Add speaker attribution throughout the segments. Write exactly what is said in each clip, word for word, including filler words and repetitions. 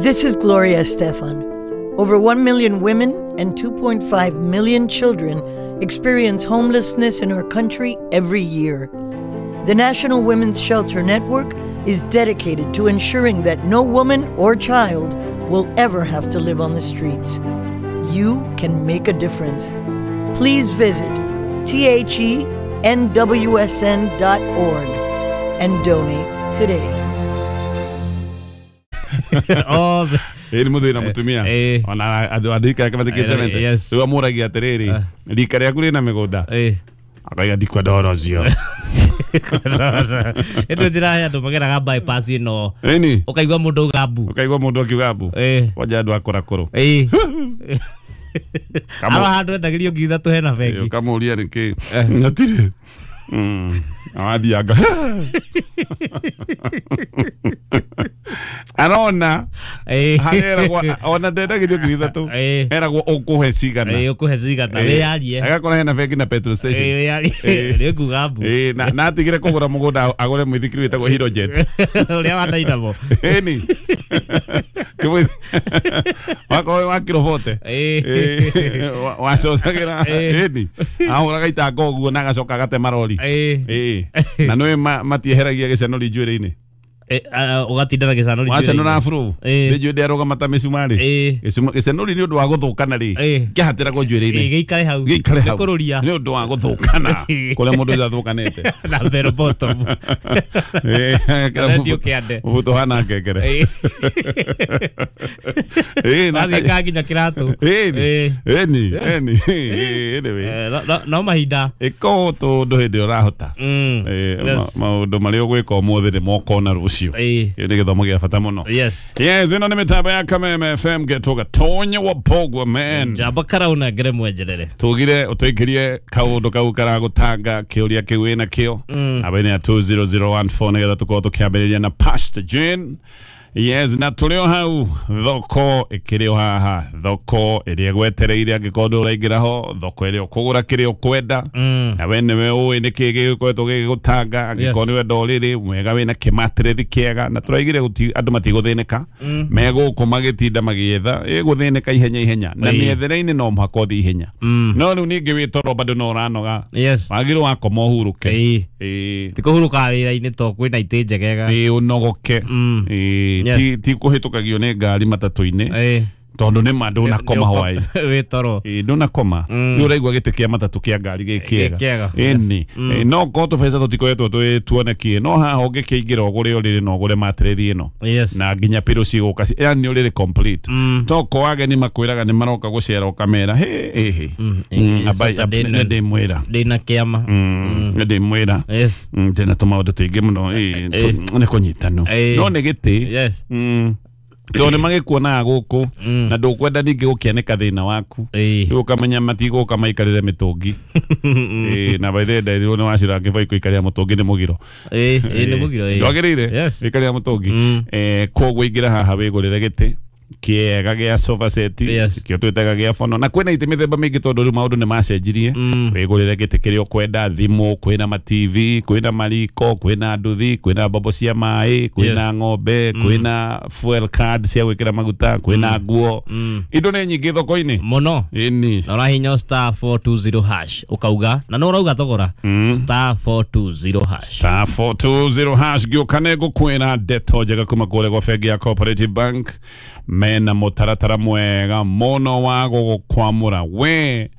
Speaker 1: This is Gloria Estefan. Over one million women and two point five million children experience homelessness in our country every year. The National Women's Shelter Network is dedicated to ensuring that no woman or child will ever have to live on the streets. You can make a difference. Please visit T H E N W S N dot org and donate today.
Speaker 2: Oh,
Speaker 3: ä nä må thä na må tumia ona andå andå ikara matä kä cemete
Speaker 2: Yes.
Speaker 3: rä u amå ragia atä rä rä rika rä aku rä na mä gå nda
Speaker 2: eh
Speaker 3: akaiga ndikwenda horo cio
Speaker 2: ä njä ra andå mageraga bypass ä no
Speaker 3: ĩni
Speaker 2: å kaigua må ndå auga mbu
Speaker 3: ũkaigua mũndũ akiuga mbu
Speaker 2: Eh.
Speaker 3: wanja andũ akũra kũrũ
Speaker 2: ä
Speaker 3: Kamo-
Speaker 2: aro handå endagä rio ngiri ithatå hena bengi
Speaker 3: ũkamũria nĩkĩ hatirĩ wathianga arona
Speaker 2: Eh.
Speaker 3: hareragwo ona ndendagĩrio ngiri ithatũ
Speaker 2: Eh.
Speaker 3: eragwo ũkũhe cigana
Speaker 2: ä å kå he cigana wä yarie
Speaker 3: agakora hena bengi na petrol station
Speaker 2: wä yarie
Speaker 3: Eh.
Speaker 2: nä nguga mbu
Speaker 3: Ĩĩ, na na atigire kũgũra mũgũnda agũre mũithikiri wĩtagwo Hero Jet
Speaker 2: å rä a watainamo
Speaker 3: ĩni Kĩmũithi- wakorwo wa kiro bote
Speaker 2: Eh.
Speaker 3: wacocagĩra
Speaker 2: Eh.
Speaker 3: ĩni ahũraga itanga ũguo na agacoka agatema rori
Speaker 2: ä
Speaker 3: Ĩĩ. na nĩũĩ ma- matieheragia gĩcanũri njuĩrĩ-inĩ
Speaker 2: å gatinda na gä canå
Speaker 3: wacanũra afro
Speaker 2: Ĩĩ.
Speaker 3: nĩ njuĩrĩ ndĩarũgama ta mĩcumarĩ
Speaker 2: Ĩĩ.
Speaker 3: Gĩcumo- gĩcanũri nĩ ũndũ wa gũthũkana rĩ
Speaker 2: Ĩĩ.
Speaker 3: kĩhatĩragwo njuĩrĩ-inĩ
Speaker 2: gä ikare hau
Speaker 3: gĩikare hau
Speaker 2: kå rå ria
Speaker 3: nĩ ũndũ wa gũthũkana kũrĩa mũndũ ũcio athũkanĩte
Speaker 2: na bell bottom
Speaker 3: Ĩĩ, agekĩra
Speaker 2: Redio
Speaker 3: mũbuto-
Speaker 2: kĩande.
Speaker 3: mũbuto ũhana ngengere
Speaker 2: Ĩĩ.
Speaker 3: Ĩĩ, na-
Speaker 2: wathiä ka nginya kä ratå
Speaker 3: Ĩni, ĩni, ĩni, ĩĩ, anyway.
Speaker 2: no mahinda
Speaker 3: ĩka tũndũ hĩndĩ ĩrĩa ũrahota
Speaker 2: Mm.
Speaker 3: Ĩĩ,
Speaker 2: Yes.
Speaker 3: ma- maũndũ marĩa ũgwĩka ũmũthĩ nĩ mokona rũciũ
Speaker 2: Ĩĩ.
Speaker 3: Kĩu nĩ gĩthomo gĩa bata mũno
Speaker 2: yes
Speaker 3: yes ĩno nĩ mĩtambo ya Kameme F M getwo Gatonye wa Bogwa man
Speaker 2: njamba karauna ngere mwenjerere
Speaker 3: tugire ũtũikĩrie kaũndũ kau karagũtanga kĩũria kĩu wĩna kĩo namba-inĩ ya two zero zero one four nĩgetha tũkorwo tũkĩambĩrĩria na Pastor Jane yes na tũrĩ o hau thoko ĩkĩrĩ o haha thoko ĩrĩa ĩgwetereire angĩkorwo ndũraingĩra ho thoko ĩrĩa ũkũgũra kĩrĩa ũkwenda na we nĩwe ũĩ nĩkĩ gĩgĩkoretwo gĩgĩgũtanga angĩkorwo
Speaker 2: Yes.
Speaker 3: nĩwe ndorĩrĩ mwega wĩna kĩmatĩrĩthi kĩega na tũraigire gũti- andũ matigũthĩnĩka megũkũ magĩtinda magĩetha ĩgũthĩnĩka ihenya ihenya na
Speaker 2: Ĩĩ.
Speaker 3: mĩethere-inĩ no mũhaka ũthiĩ ihenya no rĩu ningĩ wĩ toro bado no ũranoga
Speaker 2: yes
Speaker 3: wagĩrĩirwo wakoma ũhurũke
Speaker 2: Ĩĩ.
Speaker 3: Ĩĩ.
Speaker 2: ti kå hurå ka wä ra-inä to kwä na itä njegega
Speaker 3: ĩ ũnogoke
Speaker 2: Mm.
Speaker 3: Ĩ,
Speaker 2: Yes.
Speaker 3: ti ti kũhĩtũkagio nĩ ngari matatũ-inĩ
Speaker 2: Ĩĩ.
Speaker 3: tondũ nĩ ma ndũnakoma hwaĩ
Speaker 2: wä toro
Speaker 3: Ĩ, ndũnakoma nĩ ũraigua gĩtĩ kĩa matatũ kĩa ngari gĩ
Speaker 2: Gĩ kĩega.
Speaker 3: kĩega ĩni Ĩ, no korwo tũbeca tũtikoretwo twĩ tuonekie no haha ũngĩkĩingĩra ũgũre ũrĩrĩ na ũgũre matĩrĩthi ĩno
Speaker 2: yes
Speaker 3: na nginya pillow cigũka ci- yani ũrĩrĩ complete to ko ageni makwĩraga nĩ maroka gũcera ũkamera hĩ hĩ hĩ
Speaker 2: Mm,
Speaker 3: Mm,
Speaker 2: ĩ,
Speaker 3: abai-
Speaker 2: Saturday
Speaker 3: nĩ ndĩmwĩra
Speaker 2: ndä na kä ama
Speaker 3: Mm, nĩ ndĩmwĩra
Speaker 2: yes
Speaker 3: Mm, ndĩna tũmaũndũ tũingĩ mũno ĩ, tũ- nĩ kũnyitano
Speaker 2: Ĩ.
Speaker 3: no nĩ gĩtĩ
Speaker 2: yes
Speaker 3: Mm. tondũ nĩ magĩkuonaga gũkũ na ndũkwenda ningĩ gũkĩanĩka thĩna waku
Speaker 2: Ĩĩ.
Speaker 3: rĩu ũkamenya matigũka maikarĩre mĩtũngi Ĩĩ, na by the way nderirwo nĩ wacira ngĩboi kũikarĩra mũtũngi nĩ mũgiro
Speaker 2: Ĩĩ, ĩĩ, nĩ mũgiro ĩĩ.
Speaker 3: ndwagĩrĩire
Speaker 2: Yes.
Speaker 3: gũikarĩra mũtũngi
Speaker 2: Mm.
Speaker 3: Eh, koguo ingĩra haha wĩgũrĩre gĩtĩ kĩega gĩa sofa set
Speaker 2: Yes.
Speaker 3: kĩo twĩtaga gĩa bono na kwĩna itĩ mĩthemba mĩingĩ tondũ rĩu maũndũ nĩ macenjirie wĩgũrĩre gĩtĩ kĩrĩa ũkwenda thimũ kwĩna ma T V kwĩna mariko kwĩna nduthi kwĩna mbombo cia maĩ kwĩna
Speaker 2: Yes.
Speaker 3: ng'ombe kwĩna fuel card cia gwĩkĩra maguta kwĩna nguo indo nĩ nyingĩ thoko-inĩ
Speaker 2: mũno
Speaker 3: ĩni
Speaker 2: na ũrahinya star four two zero hash ũkauga na nĩ ũrauga thogora star four two zero hash
Speaker 3: star four two zero hash ngĩũka nĩ ngũkwĩra ndeto njega kuma kũrĩa gwa bengi ya Cooperative Bank mena mũtaratara mwega mũno wa gũgũkwamũra we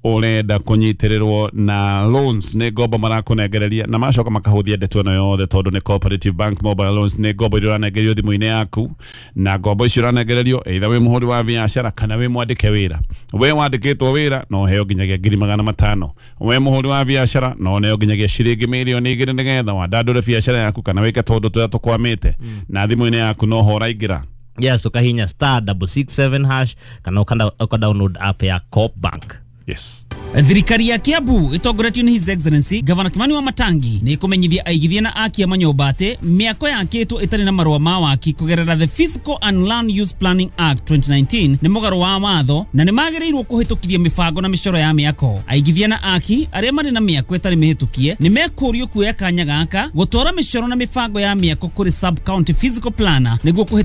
Speaker 3: ũrenda kũnyitĩrĩrwo na loans nĩ ngombo marakũnengereria na macoka makahũthia ndeto ĩno yothe tondũ nĩ Cooperative Bank mobile loans nĩ ngombo iria ũranengererio thimũ-inĩ yaku na ngombo icio ũranengererio either wĩ mũhũri wa biacara kana wĩ mwandĩke wĩra we wandĩkĩtwo wĩra no ũheo nginyagia ngiri magana matano we mũhũri wa biacara no ũneo nginyagia ciringi mirioni igĩrĩ nĩgetha wandandũre biacara yaku kana wĩke tũndũ tũrĩa tũkwamĩte na thimũ-inĩ yaku no ho ũraingĩra
Speaker 2: yes ũkahinya star double six seven hash kana ũka ũka download app ya Coop Bank
Speaker 3: yes
Speaker 4: Thirikari ya Kiambu itongoretio nĩ His Excellency Gavana Kimani wa Matangi nĩ ĩkũmenyithia aigithia na akia manyũmba atĩ mĩako yakĩtwo ĩtarĩ na marũa ma waki kũgerera the Physical and Land Use Planning Act twenty nineteen nĩ mũgarũ wa watho na nĩ magĩrĩirwo kũhĩtũkithia mĩbango na mĩcoro ya mĩako. Aigithia na aki arĩa marĩ na mĩako ĩtarĩ mĩhĩtũkie nĩ mekũrio kuoya kanya gaka gũtwara mĩcoro na mĩbango ya mĩako kũrĩ sub county physical planner nĩguo kũhĩtũkithia